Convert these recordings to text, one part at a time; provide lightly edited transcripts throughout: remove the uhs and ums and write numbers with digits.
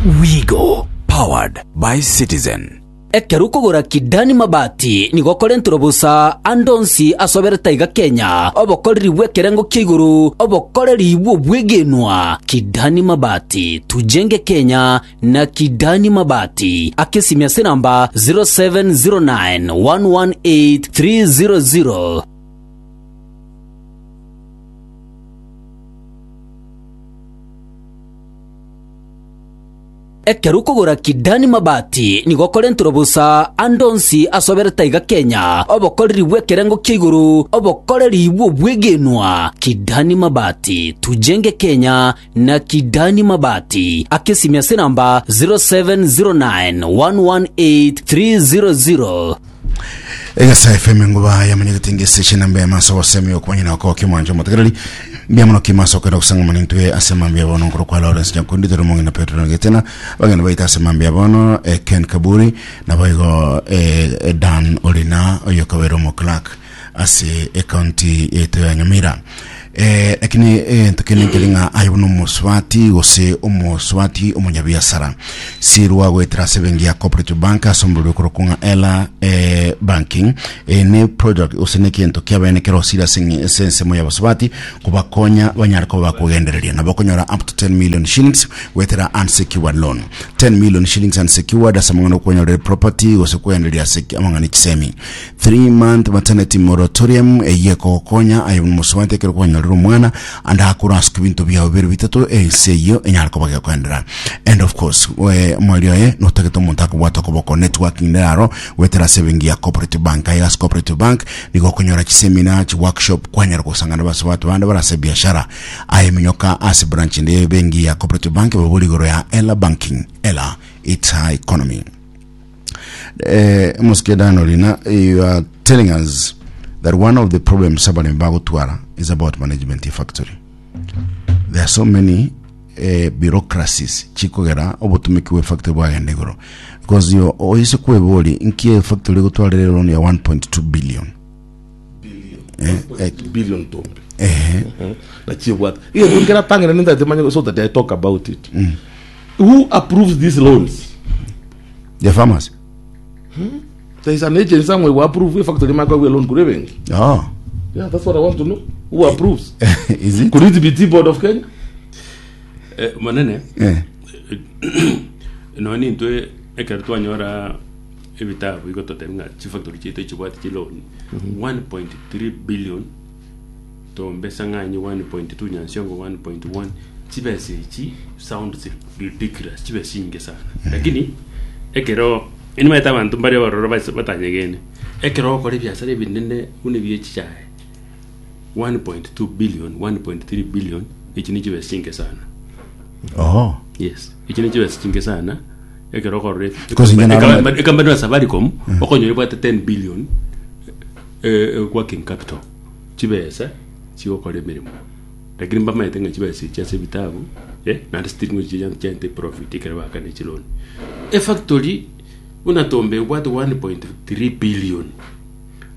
Wigo, powered by Citizen. Ekero okogora Kidani mabati nigo okorenterwa bosa ande onsi ase oberete aiga Kenya, obokoreri bw'ekerengo kia igoro, obokoreri bw'obwegenwa. Kidani Mabati, tujenge Kenya na Kidani Mabati. Aka esimi ase enamba 0709 118 300. Ekero okogora Kidani mabati nigo okorenterwa bosa ande onsi ase oberete aiga Kenya, obokoreri bw'ekerengo kia igoro, obokoreri bw'obwegenwa. Kidani Mabati, tujenge Kenya na Kidani Mabati. Aka esimi ase enamba 0709 118 300. Egesa FM enguba yamanyegete ngese chinamba emaso gosemi okwanyina oko kimwancho motegereri mbuya mono kimaso okenda gosang'amana intwe ase mambia bono nkoro kwa Lawrence Nyakundi tore mong'ina Petro Getena bagenda baita ase mambia bono eh, Ken Kaburi naboigo eh, eh, Dan Orina oyo kabere omo clerk ase ecounty yaito ya Nyamira eh, lakini eh, ntokene nkeri ng'a aye buna omosubati gose omosubati omonyabiasara sirwa goetera ase ebenki ya cooperative bank ase omorero okorokwa ng'a ela eh, banking eh, ne project gose ne egento kiabene kerosire ase eng'e- ase ensemo ya abasubati kobakonya banyare koba bakogendereria nabo okonyora up to 10 million shillings goetera unsecured loan 10 million shillings unsecured ase amang'ana okwanyorera property gose kogendereria ase amang'ana chisemi 3 month maternity moratorium eyio ekogokonya aye buna omosubati ekero kwanyorire omwana ande akore ase ebinto biao bire bitato ense eyio enyare koba gekoendera and of course we omweri oye notagete omonto akobwata okoboko networking nere aro goetera ase ebenki ya cooperative bank aye ase cooperative bank nigo okonyora chisemina chiworkshop kwanyara gosangana abasubati bande bare ase ebiashara aye minyoka ase branch ende ya ebenki ya cooperative bank babori igoro ya ela banking ela it's her economy Eh, Mosike Dan Orina, you are telling us that one of the problems abalimi bagotwara is about management ya factory. There are so many eh, bureaucracies chikogera obotumiki bwa factory bwagenda igoro because you oise kwebori nki factory gotwarire loan ya 1.2 billion billion billion tombe eh na chiebwate iye nkera tangene nindate manye so that I talk about it who approves these loans The farmers. There is an agency somewhere who approve a factory might go loan kure benki. Oh. Yeah, that's what I want to know. Who approves? Is it? Could it be Tea Board of Kenya? Eh, monene Eh. nonya nintwe ekero twanyora ebitabu igo totebia ng'a chifactory chiaito chibwate chiloan 1.3 billion Tombe Sang'anyi 1.2 Nyansiongo 1.1 chibesa echi sounds ridiculous chibesa chinge sana lakini ekero nimanyete abanto mbare abaroro base batanyegene ekero ogokora ebiasara ebinene buna ebia echichae 1.2 billion 1.3 billion echi ne chibesa chinke sana Oh. yes echi ne chibesa chinke sana ekero okorora Because inche narora- ekampani ya Safaricom okonyora ebwate 10 billion eh, working capital chibesa chigokora emeremo lakini mbamaete ng'a chibesa echi ase ebitabu eh, naende still ngochi chia chiaete profit ekero baakana chiloan. Efactory buna Tombe ebwate 1.3 billion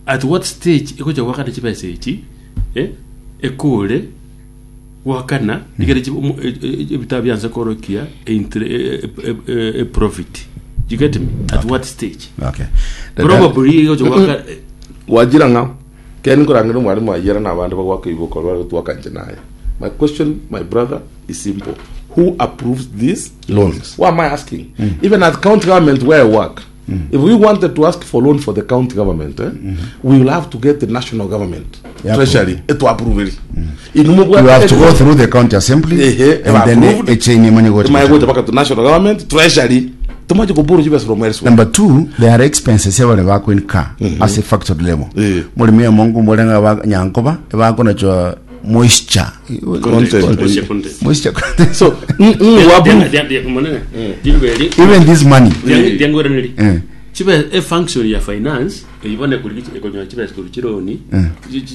at what stage egocha goakana chibesa echi eh, ekore goakana rigere chi omo e- e- ebitabu bianse korokia eintre e- e- e- e profit you get me at what stage Okay. probably egocha goaka Gwachira ng'a Keri nkorangera omwalimu ayiera na abande bagwaka iboko bare gotwaka inche naye. My question my brother is simple who approves these Loans. Why am I asking? Even at county government where I work, if we wanted to ask for loan for the county government, eh, we will have to get the national government Yeah, treasury to approve it. You have to go through the county assembly Ehe, and then approved. a chain imanye gocha. Imanye gocha mpaka to national government treasury tomache koboro chibesa from elsewhere. Number two, there are expenses abare bakoinka ase factory level. Eh. Morimi omongo morenga ba nyankoba bakonachwa moisture. Content. Moisture content. Moisture content. So, mm, mm, wa approve. monene ndiberi Even this money. ndiangoraneri Eh. chibe e function ya finance eyibone kuri ekonyola chibesa kuri chironi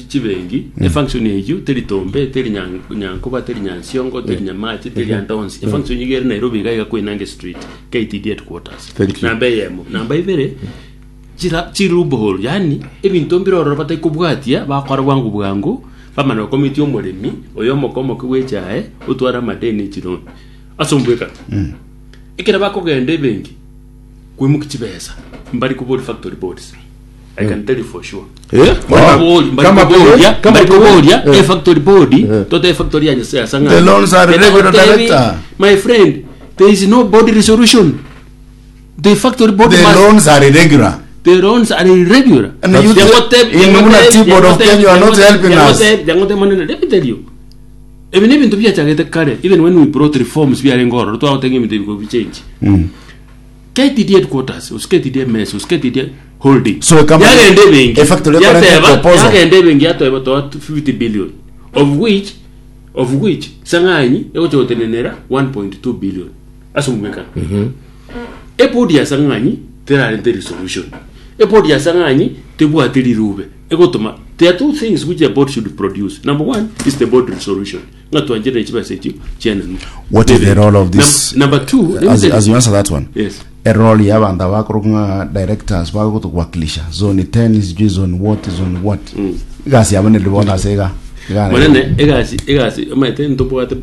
chibengi e function eyu teri tombe teri nyankoba teri nyansiongo teri nyamache teri andonsi e function igere Nairobi iga iga Koinange street KTD headquarters Thank you. namba eyemo namba ibere chira chiloophole yaani ebinto mbire ororo bataikobwatia bakora bwango bwango bamana gokomitia omoremi oyo omoke omoke bwe echae otware amadeni echironi ase ombwekano. Ekero bakogenda ebenki koimokia chibesa mbari kobori factory boards. I can tell you for sure. Eh? Mbari kobori- mbari Kama koboria kama mbari koboria eh. e factory board tote factory ya Nyasaye asang'ani. The loans are Tena regular gotebi, director. My friend, there is no board resolution. The factory board The must loans are irregular. the loans are irregular. And you in Muna Tea Board of Kenya, you are not helping us. Let me tell you. Ebi n'ebintu biachagete kare even when we brought reforms biarenge ororo twagoteba ng'a ebinto ebi gobi change. KTD headquarters, gose KTD MS, gose KTD holding. So a company- yagenda ebenki a factory ekorete yateba proposal. yagenda ebenki yateba toa 50 billion of which of which sang'anyi egocha gotenenera 1.2 billion ase omomekano. Eboard ya sang'anyi terarente resolution. Eboard ya sang'anyi tebwati rirube egotoma there are two things which a board should produce. Number one is the board resolution. Ng'a twancherere chibesa echio chiananwe. What is the role of this? Number two, let me As, tell you- as you answer that one. Yes. A role ya abantu abakorokwa ng'a directors bagotokuwakilisha zone 10 sijui zone what zone what. Egasi yabo neri bono ase iga. Iga Monene egasi egasi omanyete ntobwate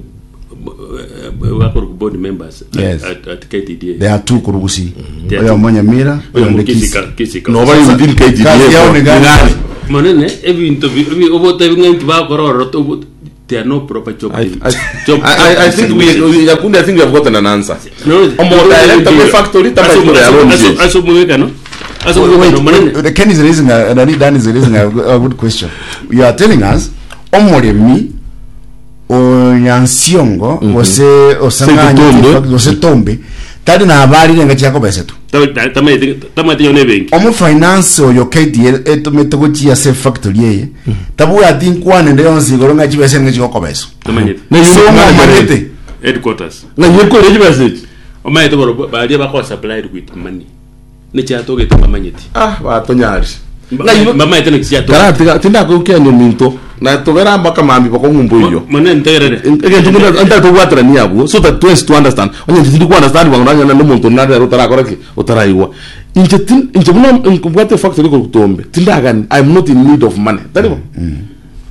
bakorokwa board members at, Yes. at, at KTDA. There are two kurugusi. There are Oyo two. Monyamira, oyo Oyo ndi Kisii Kisii. ka- Kisii ka- No, bari within KTDA. Kazi yao ni gani? Monene ebinto bi- bi- obotebi ng'a inki bakora ororo tobo- there are no proper job I, I, job I, I, I think we, we, Nyakundi, I think we have gotten an answer. No, Omo director we factory tama Aso- ikore ya aso- loan aso- change. aso omwekano aso Wait, omwekano monene wait, Ken is raising a, Nani Dan is raising a, a good question. You are telling us omoremi onyansiongo gose osang'anyi Tombe. gose tombe tari nabarire nga chiakobesetwa tamanyete tamanyete yone ebenki omofinance oyo KDL etomete gochia ase factory eye tabwati nkwane nde yonsi igoro ng'a chibesa ng'a chigokobeswa tamanyete Na so unit manager. omanyete headquarters Na yekore chibesa echi. omanyete boro baria bakoa supplied with money nechiatogete bamanyete Ah, batonyari. Na yibo bamanyete nechiatoge Karatiga tindakukia minto. Na togera mpaka mambi bakongumbo iyo. monene ntegerere Egento ngina ntatobwaterania abwo so that twes to understand. Onye tindi ku understand bwangu nanya no muntu nare utarakora ki utaraiwa. Inche tin inche buno nkubwate factory ko kutombe. Tindagani I'm not in need of money. Taribo.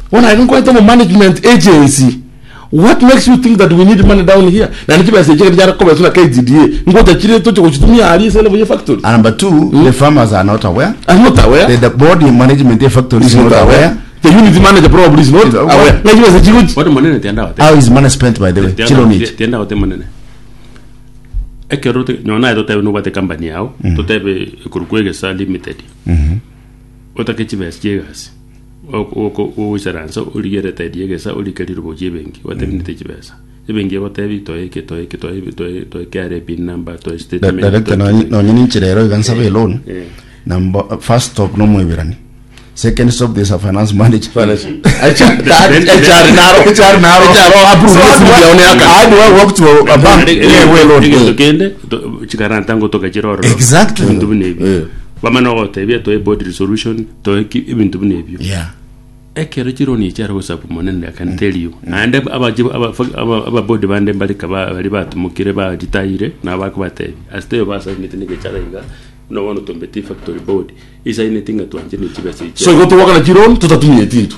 When I don't go management agency what makes you think that we need money down here? Na nichibesa chike jara kobe suna KTDA. Ngota chire toche kuchitumia ali sele boye factory. and number two the farmers are not aware I'm not aware. the, the board management ya factory is is not aware The unit manager probably is not Is aware. aware. Na chibesa chikuchi. bono monene tienda gote how is money spent by the way chilonich tienda gote monene ekero nyona totebe nobwate company yao totebe ekorokwa egesa limited otake chibesa chia egasi ogoisaransa origerete ria egesa orike rirobo chia ebenki otebinete chibesa ebenki egotebi toeke toeke toe toe toe KRA pin number toe statement director toe- nonye ninchirero iga nsabe loan Eh. number first stop no mwibirani second stop there's a finance manager Finance. HR naro. HR naro. HR approve So how do I- yaone aka. how do I walk to a, a bank yeah, we loan egento kende to- chikaranta ngotoka chire ororo Exactly. ebinto buna ebio Eh. bamana ogotebia toe board resolution toe ki- ebinto buna ebio yeah ekero chironi chiare gosabu monene I can tell you naende ababodi bande mbarika bari batumukire baritayire nabo bakobatebia asiteyo basainete negechara iga nobono tombeti factory board isainete ng'a twanche nechibesa So go to work na chiron tutatumia tintu.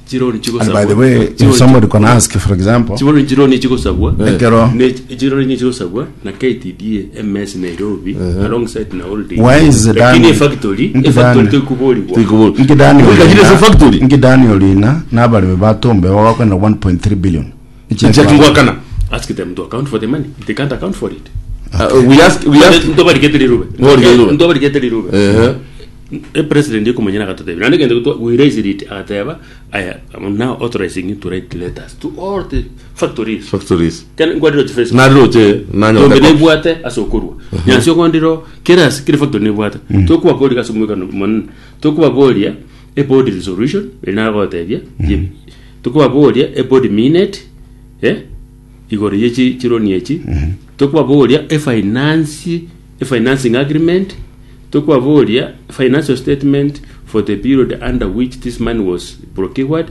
chironi and by the way if somebody can ask for example chigosabwa chironi chigosabwa ekero chironi chigosabwa na KTDA MS Nairobi alongside na holding Why is it lakini done? factory Nki factory done? tokuborigwa nki Daniel Kachire se Lina- factory. nki Daniel Lina n'abalimi batombe babakwenda 1.3 billion Chakingwakana. ask them to account for the money they can't account for it We ask we ask ntobarikete rirube Ntobarikete rirube. ntobarikete rirube eh e president yekumanyana akatotebia naende kende gotwa we raised it agateba I am now authorizing you to write letters to all the factories factories. Kana ngwadiro chi Facebook Naroche nanyo. tombe nebwate ase okorwa nyansi okondiro kera ase kere factory nebwate tokubaboria ase omwekano monene tokubaboria e board resolution eri nagotebia tokubaboria e board minute eh igoro ye chi chironi echi tokubaboria e finance e financing agreement tokubaboria financial statement for the period under which this money was procured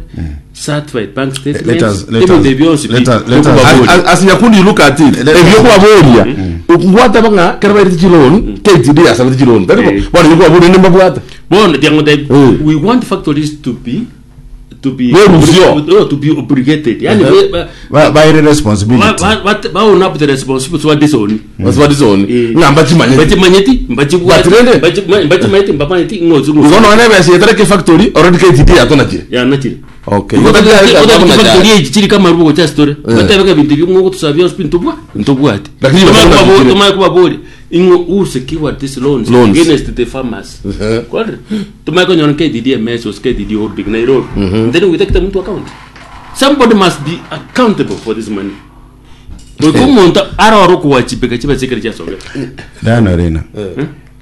certified bank statements Let us- let ebinto us- ebionsi let pi us- let us- tokubaboria. As, as Nyakundi you look at it, Let- ebyokubaboria ngwata banga kera bairete chiloan KTD asabete chiloan taribo Eh. bono yokubaboria nembabwata Bon, tiango Mm. we want factories to be to be Berusio. no, to be obligated yani Uh-huh. ba- Ba- baire ba- responsibility ba- ba- ba own up the responsibility wa disown Basibadisoni. Eh. Ng'a mbachimanyeti. mbachimanyeti mbachibwati But rende- mbachimanyeti mbamanyeti ng'ozi Igo nonya ebesa etareke factory already KTDA yatonachire. yanachire Okay. factory echi chiri kama rubo cha story batebeka bintu by'umwuka tusabya ntubwa ntubwati Lakini bakabona bikire. tumaya kubabori ing'o who secured these loans, Loans. against the farmers Uh-huh. Kweli? tumaya konyona KDD MS or KDD holding Nairobi then we take them into account somebody must be accountable for this money Goika omonto arore okuwachibika chiba chikere chiasogete Diana Arena.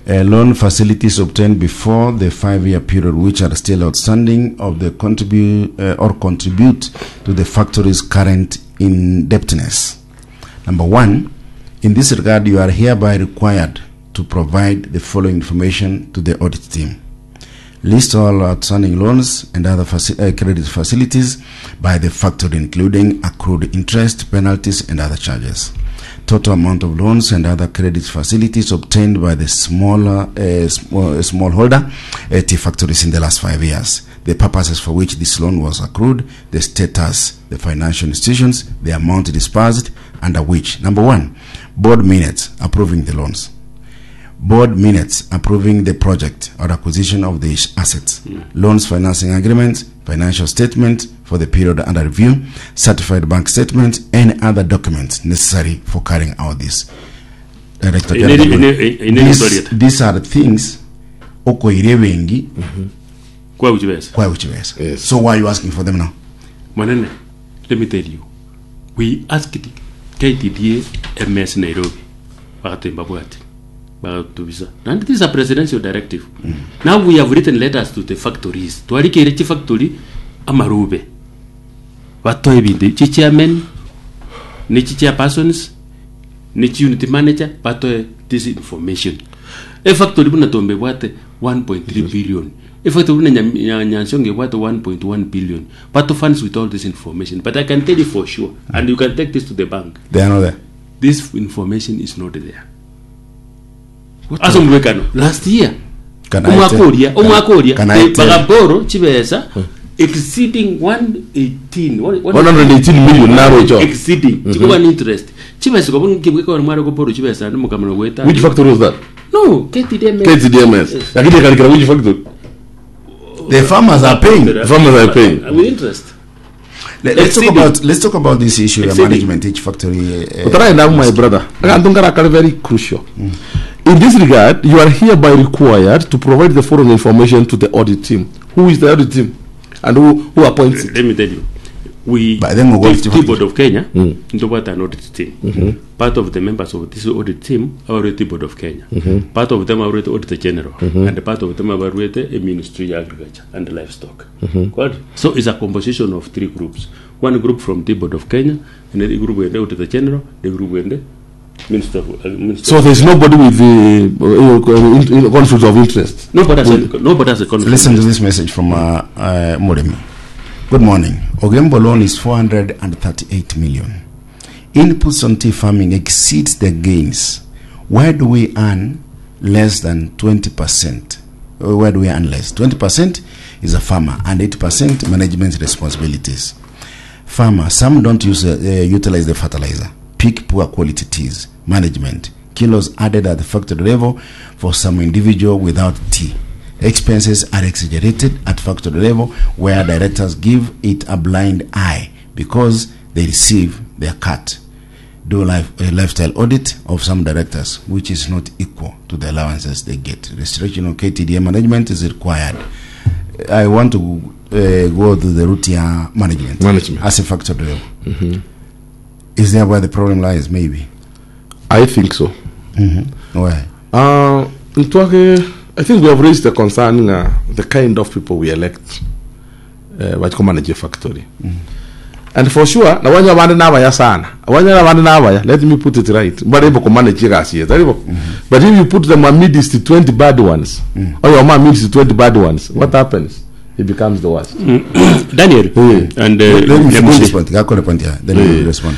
Loan facilities obtained before the five-year period, which are still outstanding, of the contribute or contribute to the factory's current indebtedness. Number one, in this regard, you are hereby required to provide the following information to the audit team. List all outstanding loans and other credit facilities by the factory, including accrued interest, penalties, and other charges. Total amount of loans and other credit facilities obtained by the smaller smallholder tea factories in the last 5 years. The purposes for which this loan was accrued, the status, the financial institutions, the amount disbursed, under which. Number one, board minutes approving the loans board minutes approving the project or acquisition of the assets, loans financing agreements, financial statement for the period under review, certified bank statements, and other documents necessary for carrying out this. Director In any- General, in any story. these are things okoire bengi kwa uchibesa kwa uchibesa. Yes. So why are you asking for them now? Manene, let me tell you, we asked KTDA MS Nairobi bakatemba bwati bakatubisa and this is a presidential directive. Now we have written letters to the factories twarikire chi factory amarube batoe ebinto chi chairman ni chi chairpersons ni chi unit manager batoe this information. E factory buna tombe bwate 1.3 billion, e factory buna Nyansonge bwate 1.1 billion, bato funds with all this information. But I can tell you for sure, and you can take this to the bank, They are not there. this information is not there. Ase omubekano last year Can I omwaka tell- oria omwaka oria can I tell- bagaboro chibesa exceeding 118 118 million naro icho. Exceeding chikuba ni interest chibesa kobo nkibweka wali mwari goboro chibesa ndi mukamano gweta. Which factory was that? No, KTDM. KTDMS. Lakini ikalikira which factory? The farmers are paying. The farmers are paying. With interest. Let's talk Exceeding. about let's talk about this issue of Exceeding. management each factory. Utaraenda my brother. Akantu karakari very crucial. In this regard, you are hereby required to provide the following information to the audit team. Who is the audit team? And who appoints it? Let me tell you, we But then we go the to Tea Board of Kenya ndobata an audit team. Part of the members of this audit team are already Board of Kenya, part of them are already Auditor General, and part of them are already a Ministry of Agriculture and Livestock. Good. So it's a composition of three groups: one group from the Board of Kenya, and the group with the Auditor General, the group with the Minister of, Minister So there's nobody with the conflict of interest. Nobody has a conflict. Listen to this message from Murimi. Good morning. Ogembo loan is 438 million. Inputs on tea farming exceeds the gains. Where do we earn less than 20%? Where do we earn less? 20% is a farmer and 80% management responsibilities. Farmer, some don't utilize the fertilizer. Pick poor quality teas. Management, kilos added at the factory level for some individual without tea. Expenses are exaggerated at factory level where directors give it a blind eye because they receive their cut. Do a lifestyle audit of some directors, which is not equal to the allowances they get. Restriction on KTDA management is required. I want to go to the route ya management. Management. As a factory level. Is there where the problem lies? Maybe. I think so. Why? Ntwake, I think we have raised the concern the kind of people we elect manage a factory. And for sure, na wanya bande nabaya sana. Wanya bande nabaya, let me put it right. But able manage gasi, But if you put them amidst 20 bad ones, or your mom amidst 20 bad ones, what happens? It becomes the worst. Daniel, and Let me finish Nyakundi. this point. Gakore point here. Then you respond.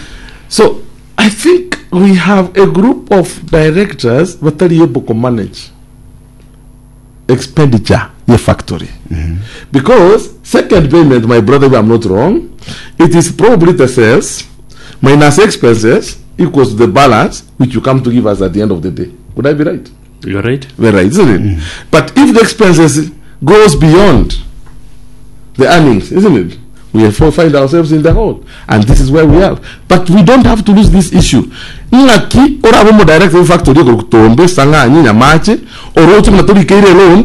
So I think we have a group of directors that are able to manage. expenditure ye factory because second payment my brother if I'm not wrong it is probably the sales minus expenses equals to the balance which you come to give us at the end of the day would I be right You are right. very right isn't it but if the expenses goes beyond the earnings isn't it we have find ourselves in the hole and this is where we are but we don't have to lose this issue ng'aki orabe omodirect factory okotombe sang'anyi nyamache oroche buna torikeire loan.